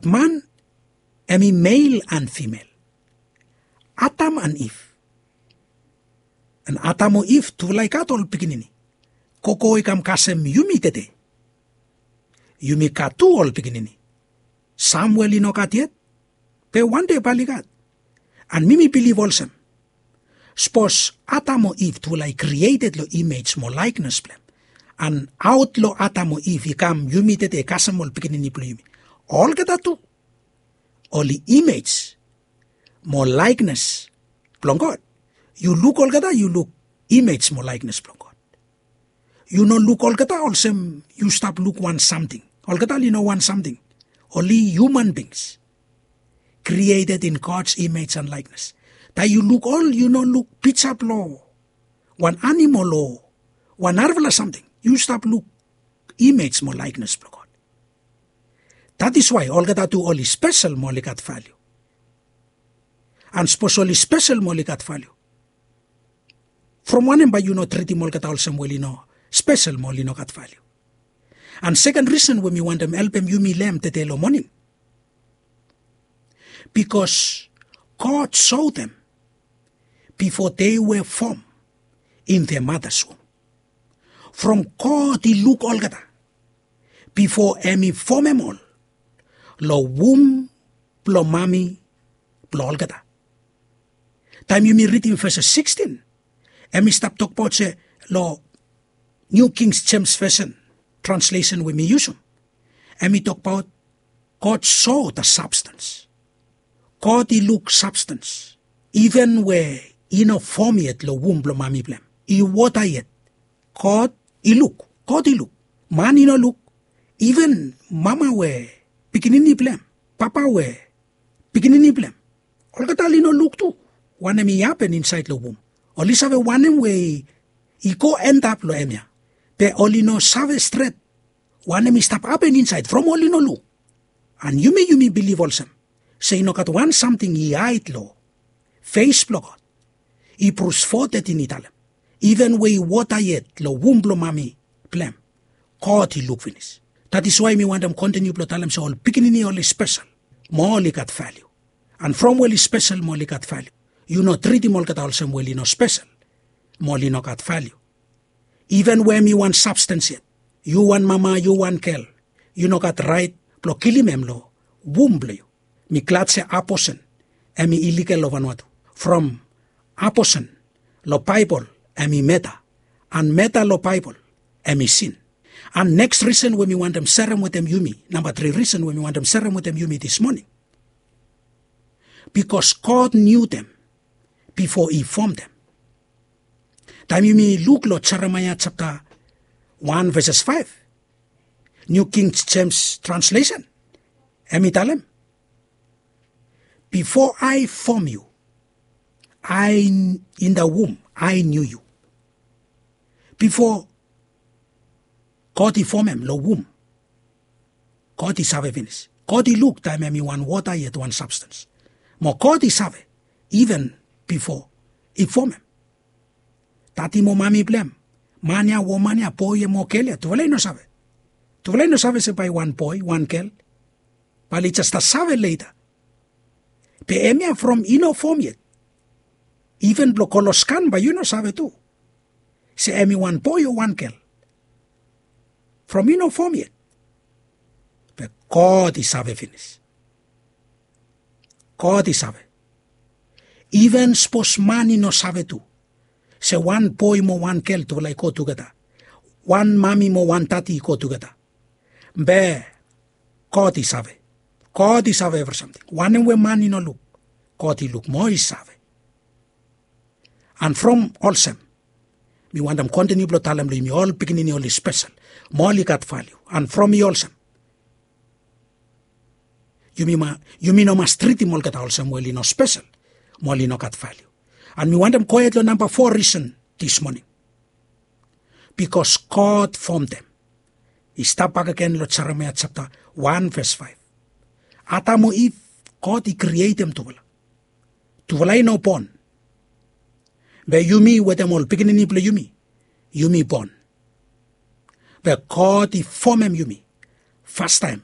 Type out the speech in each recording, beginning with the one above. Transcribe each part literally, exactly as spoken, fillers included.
Man hem i mel an fimel, Adam an Iv. An Adam o Iv tufala i gat ol pikinini. Gogo i kam kasem yumi tede. Yumi gat tu ol pikinini. Sam we oli no gat yet, be wande bae oli gat. An mi mi bilif olsem, sapos Adam o Iv tufala i krieted long imej mo laeknes blong hem, an aot long Adam o Iv i kam yumi tede kasem ol pikinini blong yumi, olgeta tu oli imej mo laeknes blong God. Yu luk olgeta, yu luk imej mo laeknes blong God. Yu no luk olgeta olsem yu stap luk wan samting. Olgeta oli no wan samting. Oli human beings created in God's image and likeness. Taem yu luk ol, yu no luk pija blong wan animal o wan narafala samting. Yu stap luk imej mo laeknes blong God. That is why olgeta tu oli spesel mo oli gat valiu. An sapos oli spesel mo oli gat valiu, from wanem bae yu no tritim olgeta olsem we oli no spesel mo oli no gat valiu? An seken risen we mi wantem helpem yumi long hem tede long moning, bikos God sou them before they were formed in their mother's womb. From God i luk olgeta bifo hem i fomem ol long wum blong mami blong olgeta. Taem yumi ridim ves sikistian, hem i stap tokbaot se long New King James Version translesen we mi yusum, hem i tokbaot God saw the substance. God i luk sabstens. Iven we i no fom yet long wum blong mami blong hem, i wota yet, God i luk. God i luk. Man i no luk. Iven mama we pikinini blong hem, papa we pikinini blong hem, olgeta oli no luk tu wanem i hapen insaed long wum. Oli save wanem we i go endap long hemia, be oli no save stret wanem i stap hapen insaed from oli no luk. An yumi, yumi bilif olsem se i no gat wan samting i haed long fes blong God. Ibrus fo tetin i talem, iven we i wota yet long wum blong mami blong hem, God i luk finis. That is why mi wantem kontiniu blong talem se ol pikinini oli spesel mo oli gat valiu. An from we oli spesel mo oli gat valiu, yu no tritim olgeta olsem we oli no spesel mo oli no gat valiu. Iven we hem i wan sabstens yet, yu wan mama, yu wan gel, yu no gat raet blong kilim hem long wum blong yu. Mi glad se aposen hem i iligal long Vanuatu. From aposen long Baebol hem i meda, an meda long Baebol hem i sin. An neks risen we mi wantem serem wetem yumi, namba tri risen we mi wantem serem wetem yumi dis moning, bikos God knew them before he formed them. Taem yumi luk long Jeremaia japta wan veses faef, New King James translesen, hem i talem, before I form you, I in the womb, I knew you. Bifo God i fomem long wum, God i save finis. God i luk taem hem i wan wota yet wan sabstens. Mo God i save iven bifo i fomem. Dadi mo mami blong hem, man ya, woman ya, boe ya mo gel ya, tufala i no save. Tufala i no save se bae wan boe, wan gel, bae oli jes stap save leta. Be hemia from i no fom yet, iven blong go long skan bae yu no save tu se hem i wan boe o wan gel. From i no fom yet, be God i save finis. God i save. Iven sapos man i no save tu se wan boe mo wan gel tufala i go tugeta, wan mami mo wan dadi i go tugeta, be God i save. God i save evri samting. Wanem we man i no luk, God i luk mo i save. An from olsem, mi wantem kontiniu blong talem long yumi, ol pikinini oli spesel mo oli gat valiu. An from i olsem, yumi ma, yumi no mas tritim olgeta olsem we oli no spesel mo oli no gat valiu. An mi wantem gohed long namba fo risen dis moning, bikos God fom them. I stap bakegen long Jeremaia japta wan ves faef. Adam o Iv, God i krietem tufala. Tufala i no bon. Be yumi wetem ol pikinini blong yumi, yumi bon. Be God i fomem yumi fastaem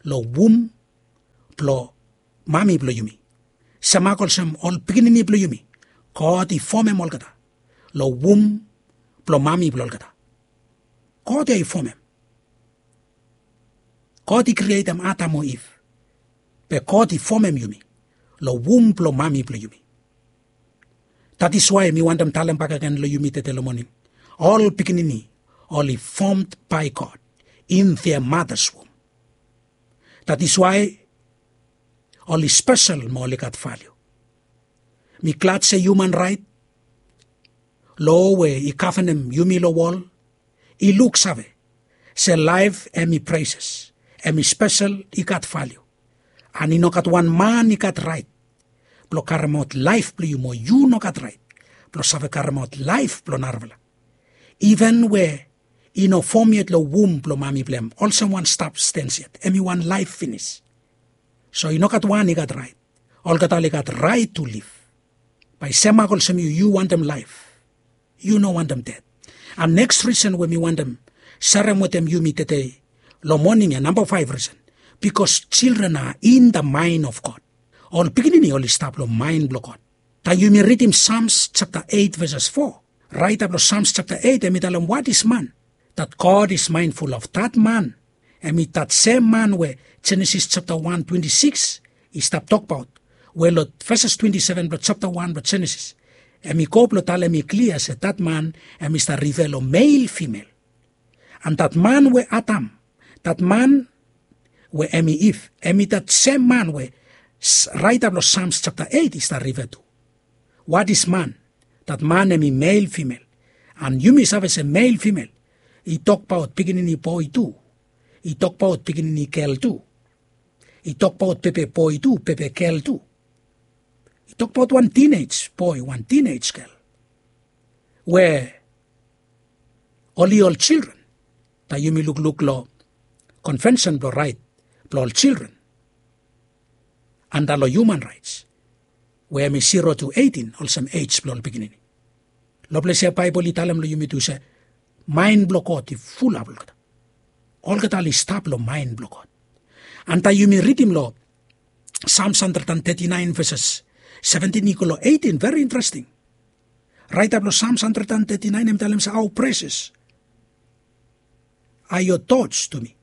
long wum blong mami blong yumi. Semak olsem ol pikinini blong yumi, God i fomem olgeta long wum blong mami blong olgeta. God ya i fomem. God i krietem Adam o Iv. Be God i fomem yumi long wum blong mami blong yumi. That is why mi wantem talem bakegen long yumi tede long moning, ol pikinini oli fomd bai God in their mother's womb. That is why oli spesel mo oli gat valiu. Mi glad se human rait, lo we i gavenem yumi long wol, i luksave se laef hem i preses, hem i spesel, i gat valiu. An i no gat wan man i gat rait blong karemaot laef blong yu, mo yu no gat rait blong save karemaot laef blong narafala. Iven we i no fom yet long wum blong mami blong hem, olsem wan sabstens yet, hem i wan laef finis. So i no gat wan i gat rait. Olgeta oli gat rait tu liv. Bae semak olsem yu, yu wantem laef, yu no wantem ded. An neks risen we mi wantem serem wetem yumi tede long moning ya, namba faef risen, bikos children are in the mind of God. Ol pikinini oli stap long maen blong God. Taem yumi ridim Sams japta eit veses fo, raeta blong Sams japta eit hem i talem, what is man that God is mindful of? That man, hem i that sem man we Jenesis japta wan twenti sikis i stap tokbaot, we long veses twenti seven blong japta wan blong Jenesis hem i go blong talem i klia se that man hem i stap rife long mel fimel. An that man we Adam, that man we hem i Iv, hem i that sem man we raeta blong Sams japta eit i stap rife tu. What is man? That man hem i mel fimel. An yumi save se mel fimel i tokbaot pikinini boe tu, i tokbaot pikinini gel tu, i tokbaot pepe boe tu, pepe gel tu, i tokbaot wan tinej boe, wan tinej gel, we oli ol children. Taem yumi lukluk long konvensen blong rait blong ol children anda long human raets, we hem i zero tu eitin olsem ej blong ol pikinini. Long ples ya Baebol i talem long yumi tu se maen blong God i fulap olgeta. Olgeta oli stap long maen blong God. An taem yumi ridim long Sams handred an teti naen veses seventin i go long eitin, veri interesting. Raeta blong Sams handred an teti naen hem i talem se, how precious are your thoughts to me.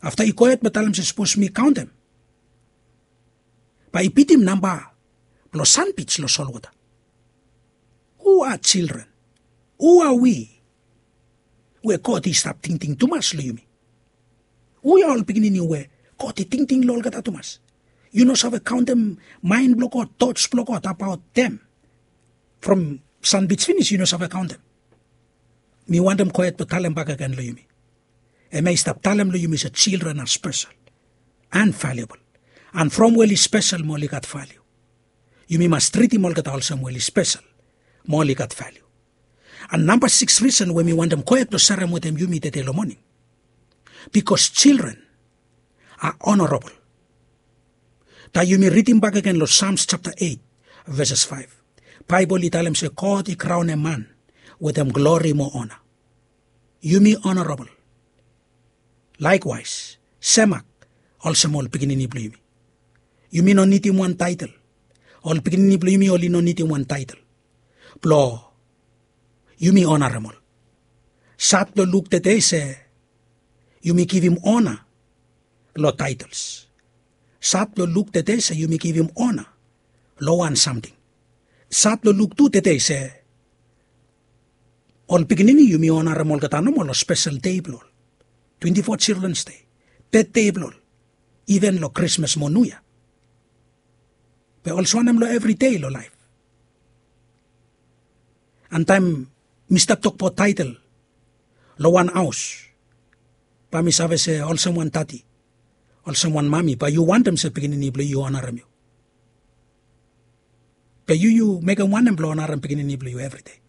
Afta i gohed blong talem se sapos mi kaontem, bae i bitim namba blong sanbij long solwota. Hu a children? Hu a wi we God i stap tingting tumas long yumi? Hu ya ol pikinini we God i tingting long olgeta tumas? Yu no save kaontem maen blong God, tots blong God abaot hem. From sanbij finis yu no save kaontem. Mi wantem gohed blong talem bakegen long yumi, hemia i stap talem long yumi se children are special and valuable. And from we oli spesel mo oli gat valiu, yumi mas tritim olgeta olsem we oli spesel mo oli gat valiu. And namba sikis risen we mi wantem gohed blong serem wetem yumi tede long moning, bikos children are honorable. Taem yumi ridim bakegen long Sams japta eit veses faef, Baebol i talem se God i kraonem man wetem glori mo ona. Yumi honorable. Laekwaes, semak olsem ol pikinini blong yumi. Yumi no nidim wan taetel. Ol pikinini blong yumi oli no nidim wan taetel blong yumi onarem ol. Sad blong luk tede se yumi givim ona long taetels. Sad blong luk tede se yumi givim ona long wan samting. Sad blong luk tu tede se ol pikinini yumi onarem olgeta nomo long spesel dei blong ol, twenti fo Children's Day, betde blong ol, iven long Krismas mo Niu Yia. Be olsem wanem long evri dei long laef? And taem mi stap tokbaot taetel long wan haos, bae mi save se olsem wan dadi, olsem wan mami, bae yu wantem se pikinini blong yu i onarem yu. Be yu yu mekem wanem blong onarem pikinini blong yu evri dei?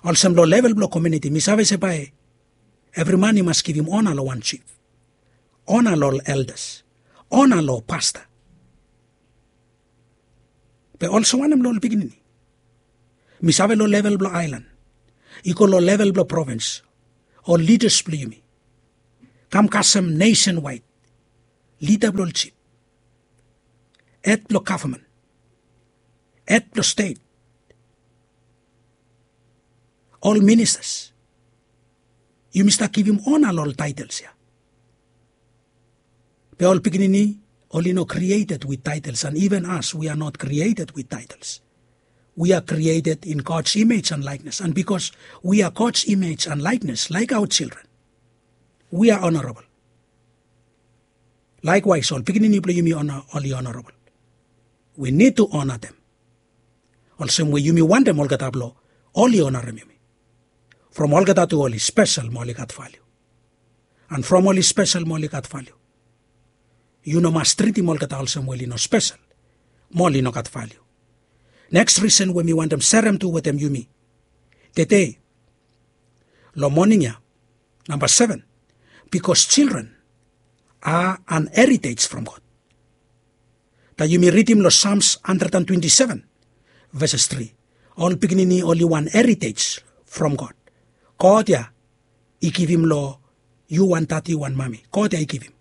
Olsem long level blong komuniti mi save se bae evri man i mas givim ona long wan jif, ona long ol eldas, ona long pasta. Be olsem wanem long ol pikinini? Mi save long level blong aelan, i go long level blong provins, ol lidas blong yumi kam kasem nesenwaed lida blong ol jif, hed blong gavman, hed blong stet, ol ministas. Yumi stap givim ona long ol taetels ya. Be ol pikinini oli no krieted wit taetels, and even as we are not created with titles. We are created in God's image and likeness, and because we are God's image and likeness, like our children, we are honorable. Likewise, ol pikinini blong yumi oli honorable. We need to honor them. Olsem we yumi wantem olgeta blong oli onarem yumi. From olgeta tu oli spesel mo oli gat valiu. And from oli spesel mo oli gat valiu, yu no mas tritim olgeta olsem we oli no spesel mo oli no gat valiu. Neks risen we mi wantem serem tu wetem yumi tede long moning ya, namba seven, because children are an heritage from God. Taem yumi ridim long Psalms hundred and twenty-seven, verses three, ol pikinini oli wan heritage from God. God ya i givim long yu wan dadi, wan mami. God ya i givim.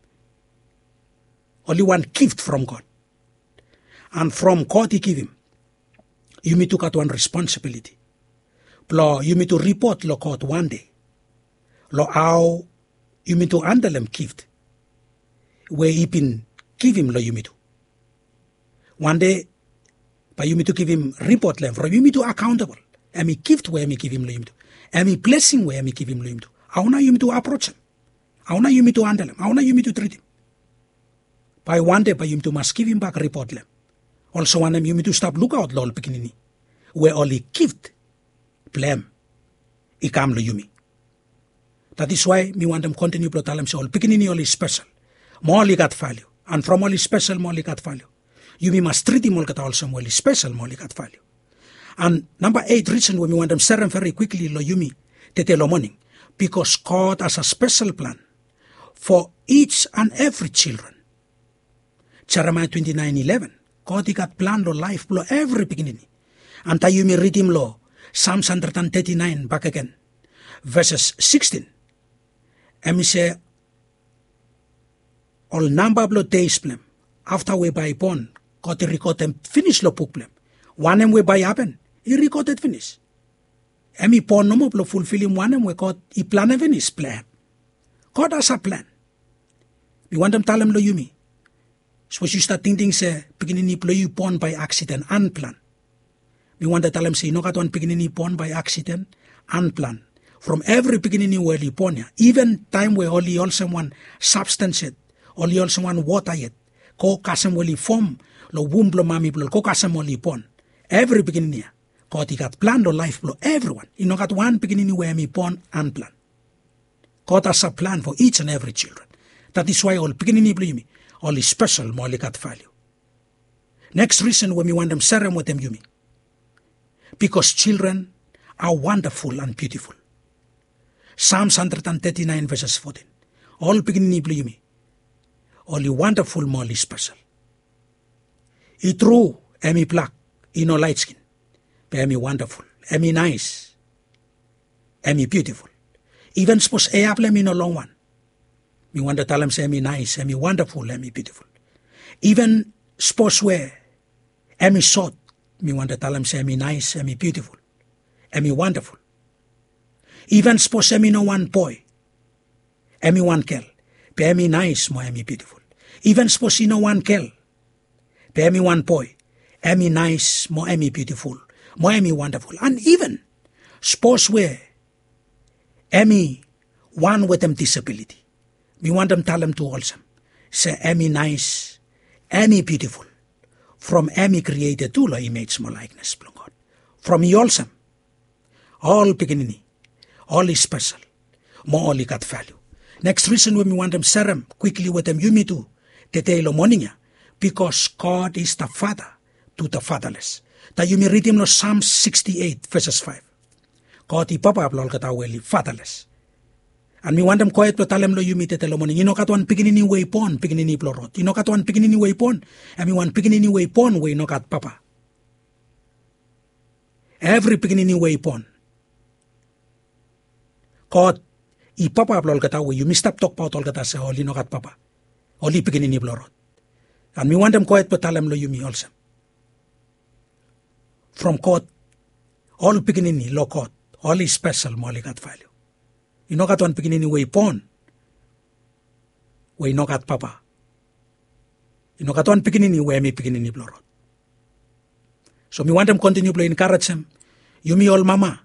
Oli wan gift from God. And from God i givim, yumi tu gat wan responsibility blong yumi tu ripot long God wan dei long hao yumi tu handelem gift we i bin givim long yumi tu. Wan dei bae yumi tu givim ripot long hem from yumi tu akaontabol. Hemi gift we hemi givim long yumi tu, hemi blesing we hemi givim long yumi tu, hao nao yumi tu aprojem? Hao nao yumi tu handelem? Hao nao yumi tu tritim? Bae wan dei bae yumi tu mas givimbak ripot long hem. Olsem wanem, yumi tu stap lukaot long ol pikinini we oli gift blong hem i kam long yumi. That is why mi wantem kontiniu blong talem se ol pikinini oli spesel mo oli gat valiu. And from oli spesel mo oli gat valiu, yumi mas tritim olgeta olsem we oli spesel mo oli gat valiu. And namba eit risen we mi wantem serem veri kwikli long yumi tede long moning, because God has a special plan for each and every children. Jeremaia twenty-nine eleven, God i gat plan long laef blong evri pikinini. And taem yumi ridim long Psalms hundred and thirty-nine bakegen, verses sixteen, hemi se ol namba blong deis blong hem afta we bae i bon, God i rikodem finis long buk blong hem. Wanem we bae i hapen i rikoded finis. Hemi bon nomo blong fulfilim wanem we God i planem finis blong hem. God has a plan. Mi wantem talem long yumi, sapos yu stap tingting se pikinini blong yu i bon bae aksiden, anplan, mi wantem talem se i no gat wan pikinini i bon bae aksiden, anplan. From evri pikinini we oli bon ya, iven taem we oli olsem wan sabstans yet, oli olsem wan wota yet, go kasem we oli fom long wum blong mami blong oli, go kasem oli bon, evri pikinini ya God i gat plan long laef blong evriwan. I no gat wan pikinini we hemi bon anplan. God has a plan for each and every children. That is why ol pikinini blong yumi oli spesel mo oli gat valiu. Neks risen we mi wantem serem wetem yumi, because children are wonderful and beautiful. Psalms hundred and thirty-nine, verses fourteen. Ol pikinini blong yumi oli wandaful mo oli spesel. I tru, hemi blak, i no laetskin, be hemi wandaful, hemi naes, hemi biutiful. Iven sapos hea blong hem i no longwan, mi wantem talem se hemi naes, hemi wandaful, hemi biutiful. Iven sapos we hemi sot, mi wantem talem se hemi naes, hemi biutiful, hemi wandaful. Iven sapos hemi no wan boe, hemi wan gel, be hemi naes mo hemi biutiful. Iven sapos i no wan gel, be hemi wan boe, hemi naes mo hemi biutiful mo hemi wandaful. And iven sapos we hemi wan wetem disabiliti, mi wantem talem tu olsem se hemi naes, hemi biutiful, from hemi krieted tu long imej mo laeknes blong God. From i olsem, ol pikinini oli spesel mo oli gat valiu. Neks risen we mi wantem serem kwikli wetem yumi tu tede long moning ya, bikos God is the Father to the fatherless. Taem yumi ridim long Psalms sixty-eight, verses five, God i papa blong olgeta we oli fatherless. And mi wantem gohed blong talem long yumi tede long moning, i no gat wan pikinini we i bon pikinini blong rod. I no gat wan pikinini we i bon hemi wan pikinini we i bon we i no gat papa. Evri pikinini we i bon, God i papa blong olgeta we yumi stap tokbaot olgeta se oli no gat papa. oli pikinini blong rod. An mi wantem gohed blong talem long yumi olsem, from god, ol pikinini long god, oli spesel mo oli gat valiu. I no gat wan pikinini we i bon we i no gat papa. I no gat wan pikinini we em i pikinini blong rod. So mi wantem kontiniu blong enkarejem yumi ol mama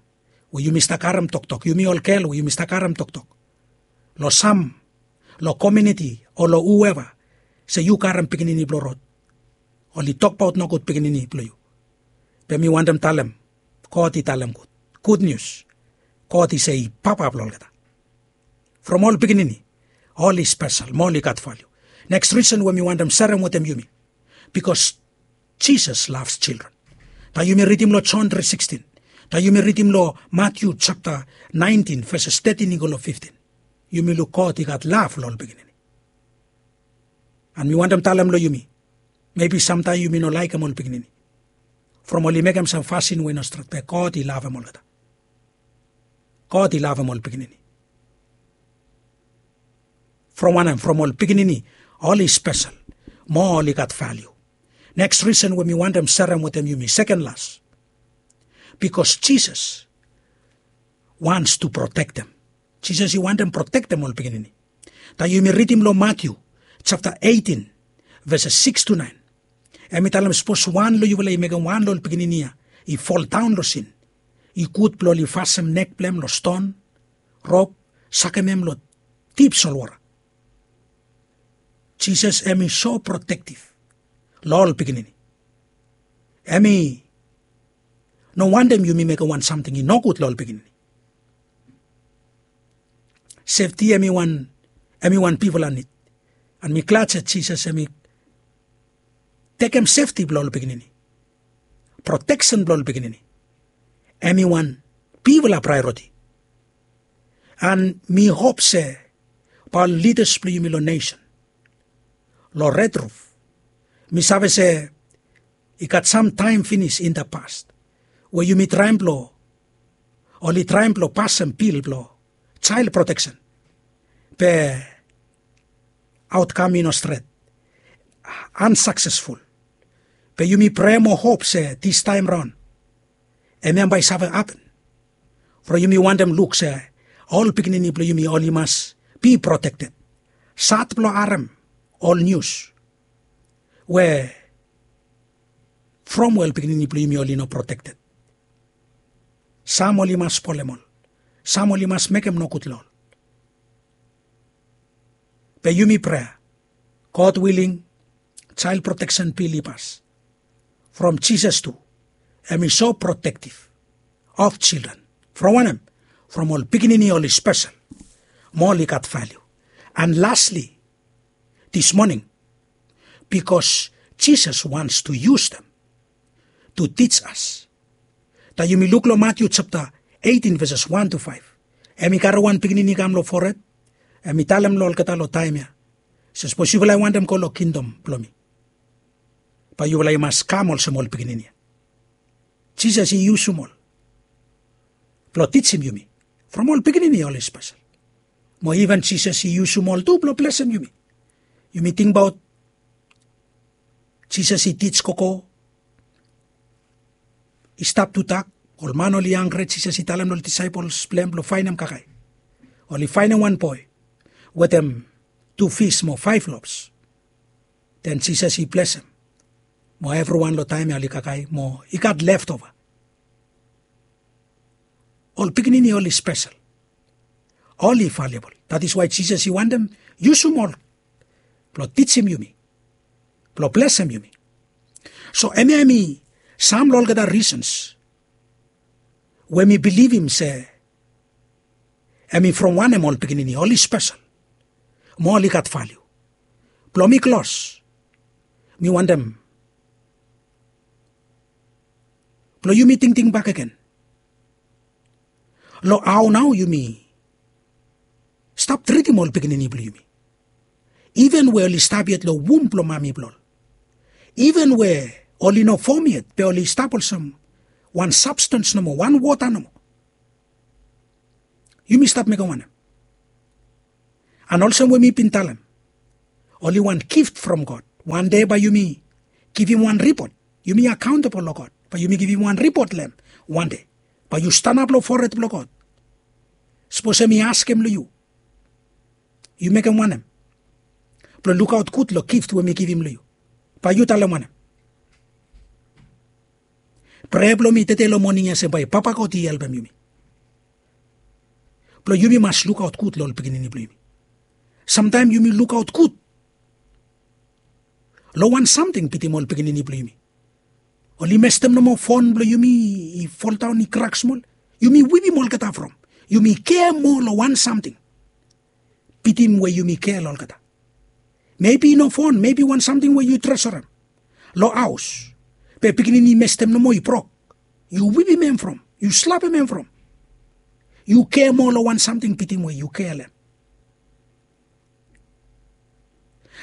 we yumi stap karem toktok, yumi ol gel we yumi stap karem toktok, long sam, long komiuniti o long hueva, se yu karem pikinini blong rod, oli tokbaot nogud pikinini blong yu. Be mi wantem talem, god i talem gud, gud nius. God i se i papa blong olgeta. From ol pikinini, oli spesel mo oli gat valiu. Neks risen we mi wantem serem wetem yumi, bikos jisas lavs jildren. Taem yumi ridim long jon tri sikstin, taem yumi ridim long matiu japta naentin veses tetin i go long fiftin, yumi luk god i gat lav long ol pikinini. An mi wantem talem long yumi, mebi samtaem yumi no laekem ol pikinini, from oli mekem sam fasin we i no stret, be god i lavem olgeta. God i lavem ol pikinini. From wanem? From ol pikinini oli spesel mo oli gat valiu. Neks risen we mi wantem serem wetem yumi, seken las, bikos jisas wants to protektem. Jisas i wantem protektem ol pikinini. Taem yumi ridim long matiu japta eitin, veses siks tu naen, em i talem sapos wan long yufala i mekem wan long ol pikinini ya i foldaon long sin, i gud blong oli fasem nek blong em long ston, rop, sakem em long dip solwota. Jisas em i so protektif long ol pikinini. Em i no wantem yumi mekem wan samting i nogud long ol pikinini. Sefti em i wan, em i wan bigfala nid. An mi glad se jisas em i tekem sefti blong ol pikinini, proteksen blong ol pikinini, em i wan bigfala praeoriti. An mi hop se bae ol lidas blong yumi long nesen, long red ruf, mi save se i gat sam taem finis in da past we yumi traem blong, oli traem blong pasem bil blong jael proteksen, be aotkam i no stret, ansaksesful. Be yumi prea mo hop se distaem raon em ya bae i save hapen. From yumi wantem luk se ol pikinini blong yumi oli mas bi protekted. Sad blong harem ol nius we from we ol pikinini blong yumi oli no protekted. Sam oli mas spolem ol, sam oli mas mekem nogud long ol. Be yumi prea, god wiling, jael proteksen bil i pas. From jisas tu em i so protektif of jildren. From wanem? From ol pikinini oli spesel mo oli gat valiu. An lasli, dis moning, bikos jisas wants tu yus dem tu tij as. Taem yumi luk long matiu japta eitin veses wan tu faef, em i karem wan pikinini i kam long fored, em i talem long olgeta long taem ya se sapos yufala i wantem go long kingdom blong mi, bae yufala i mas kam olsem ol pikinini ya. Jisas i yusum ol blong tijim yumi. From ol pikinini oli spesel, mo iven jisas i yusum ol tu blong blesem yumi. Yumi tingbaot jisas i tij gogo i stap tudak, ol man oli hanggre, jisas i talem long ol disaepols blong hem blong faenem kakae. Oli faenem wan boe wetem tu fis mo faef lops. Den jisas i blesem mo evriwan long taem ya oli kakae mo i gat leftova. Ol pikinini oli spesel, oli valiabol. Dat is wae jisas i wantem yusum ol blong tijim yumi, blong blesem yumi. So hemia hem i sam long olgeta risens we mi bilivim se hem i from wanem ol pikinini oli spesel mo oli gat valiu. Blong mi klos, mi wantem blong yumi tingting bakegen long hao nao yumi stap tritim ol pikinini blong yumi, iven we oli stap yet long wum blong mami blong ol, iven we oli no fom yet be oli stap olsem wan sabstans nomo, wan wota nomo. Yumi stap mekem wanem? An olsem we mi bin talem, oli wan gift from God. Wan dei bae yumi givim wan ripot. Yumi akaontabol long God. Bae yumi givim wan ripot long hem wan dei. Bae yu stanap long fored blong God. Sapos hem i askem long yu, yu mekem wanem blong lukaot gud long gift we mi givim long yu? Bae yu talem wanem? Prea blong mi tede long moning ya se bae Papa God i helpem yumi blong yumi mas lukaot gud long ol pikinini blong yumi. Samtaem yumi lukaot gud long wan samting bitim ol pikinini blong yumi. Oli mestem nomo fon blong yumi i foldaon i krak smol. Yumi wipim olgeta from. Yumi kea moa long wan samting bitim we yumi kea long olgeta. Mebi i no fon, mebi wan samting we yu tresorem long haos. Be pikinini i mestem nomo i brok. Yu wipim hem from. Yu slapem hem from. Yu kea moa long wan samting bitim we yu kea long hem.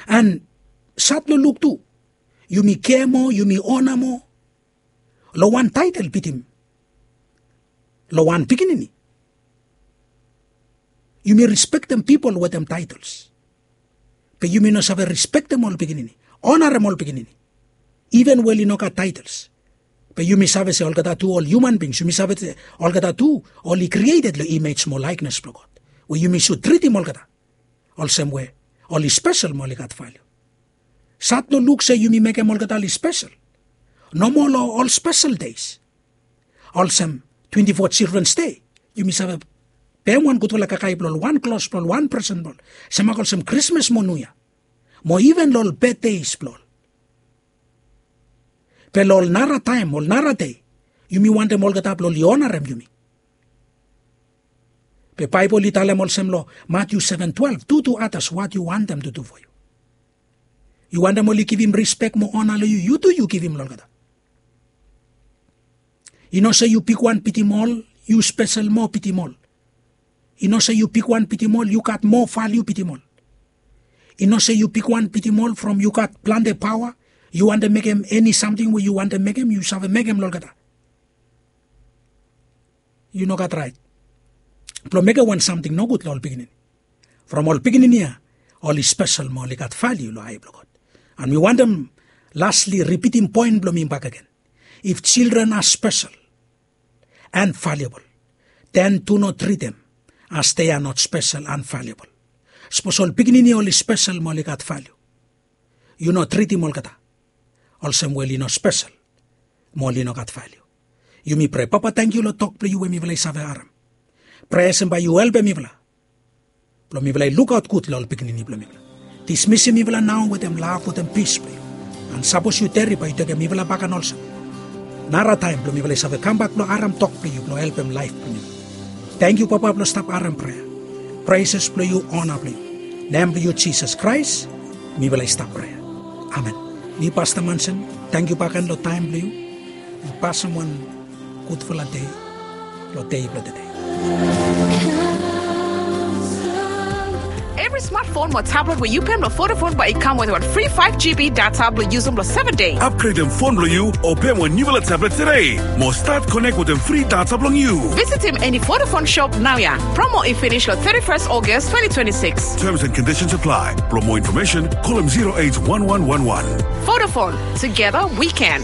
An sad long luk tu, yumi kea moa, yumi ona moa long wan taetel bitim long wan pikinini. Yumi respektem pipol wetem taetels. Be yumi no save respektem ol pikinini, onarem ol pikinini, iven we oli no gat taetels. Be yumi save se olgeta tu ol hiuman bings, yumi save se olgeta tu oli krieted long imej mo laeknes blong God, we yumi sud tritim olgeta olsem we oli spesel mo oli gat valiu. Sad long luk se yumi mekem olgeta oli spesel nomo long ol spesel deis. Olsem twenti fo Children's Day, yumi save pem wan gudfala kakae blong ol, wan klos blong ol, wan presen blong ol, semak olsem Krismas mo Niu Yia, mo iven long ol betdeis blong ol. Be long ol nara taem, ol nara dei, yumi wantem olgeta blong oli onarem yumi. Be Baebol i talem olsem long Matiu seven twelve, "Do to others what you want them to do for you." Yu wantem oli givim rispek mo ona long yu, yu tu yu givim long olgeta. I no se yu bigwan bitim ol, yu spesel moa bitim ol. I no se yu bigwan bitim ol, yu gat moa valiu bitim ol. I no se yu bigwan bitim ol from yu gat plante paoa, yu wantem mekem eni samting we yu wantem mekem, yu save mekem long olgeta. Yu no gat raet blong mekem wan samting nogud long ol pikinini. From ol pikinini ya, oli spesel mo oli gat valiu long ae blong God. An mi wantem lasli ripitim poen blong mi bakegen. If children are special and valuable, then do not treat them as they are not special and valuable. Sapos ol pikinini oli spesel mo oli gat valiu, yu no tritim olgeta olsem we oli no spesel mo oli no gat valiu. Yumi prea. Papa, tangkiu long tok blong yu we mifala i save harem. Prea olsem bae yu helpem mifala blong mifala i lukaot gud long ol pikinini blong mifala. Dismisim mifala nao wetem lav, wetem pis blong yu. An sapos yu deri, bae yu tekem mifala bakegen olsem nara taem blong mifala i save kambak blong harem tok blong yu blong helpem laef blong mifala. Tangkiu, Papa, blong stap harem prea. Preses blong yu, ona blong yu. Nem blong yu Jisas Kraes mifala i stap prea. Amen. Mi Pasta Mansen, tangkiu bakegen long taem blong yu. An pasem wan gudfala dei long dei blong tede. Evri smartphone mo tablet we yu pem long Vodafone bae i kam wetem wan fri five G B data blong yusum long seven dei. Upgradem fon blong yu o pem wan niufala tablet tede mo stat konek wetem fri data blong yu. Visitim eni Vodafone shop naoia. Promo i finis long thirty-first August twenty twenty-six. Terms and conditions apply. Blong moa infomesen, kolem zero eight one one one one. Vodafone, together we can.